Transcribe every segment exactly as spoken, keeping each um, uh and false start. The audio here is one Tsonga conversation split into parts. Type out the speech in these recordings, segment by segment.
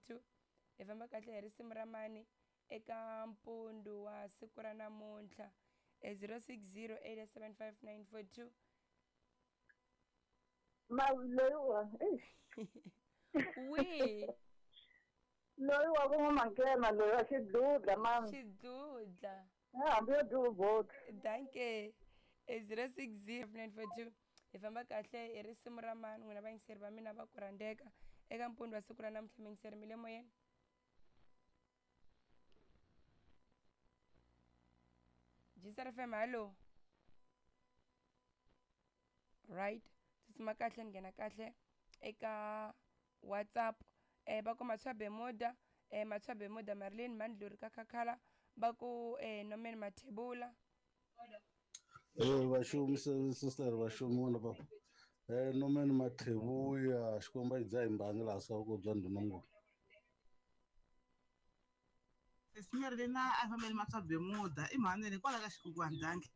two. Hi famba kahle hi risimu ra mani eka mpundu wa siku ra namuntlha e zero six zero eight seven five nine four two. Ma loyi wi loyi wa ku n'wa loyi wa xidludla mami xidludla hambi yo duvot. Danke. E zero six zero nine four two. Hi famba kahle hi risimu ra mani n'wina vayingiseri va mina va ku rhandzeka eka mpundu wa siku ra namuntlha miyingiseri mi le moyeni. G S F M, hallo. Right, tsutsuma kahle ni nghena kahle eka WhatsApp. eh va ku Matshwa Bermuda, eh Matshwa Bermuda Marilyn Mandluri ka Khakhala va ku eh Norman Mathebula. Eh vaxumi sister vaxumi vona va eh Norman Mathebula xikwembu a dza hi mbangi laha swa ku bya ndhuna. Sesi Marilyn a fambeni Matshwa Bermuda i mhani kwala ka xikukwana danki.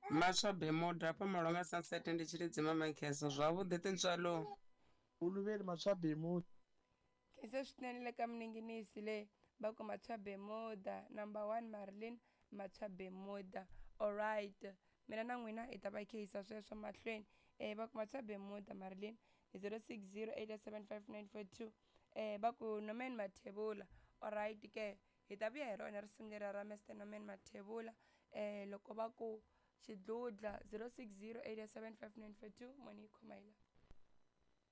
Matshwa Bermuda hafha Malonga Sunset ndi Tshilidzi Mamakheso zwavhuḓi tintswalo. Uluveli Matshwa Bermuda. Khensa swinene le ka mininginisi le va ku Matshwa Bermuda number one Marilyn Matshwa Bermuda. Alright, mina na n'wina hi ta va khehisa sweswo mahlweni. Eh va ku Matshwa Bermuda Marilyn zero six zero eight seven five nine four two. Eh va ku Norman Mathebula. Alright ke hi ta vuya hi rona risimu leri ra Mister Norman Mathebula eh loko va ku xidludla zero six zero eight seven five nine four two moni yi khoma hi la.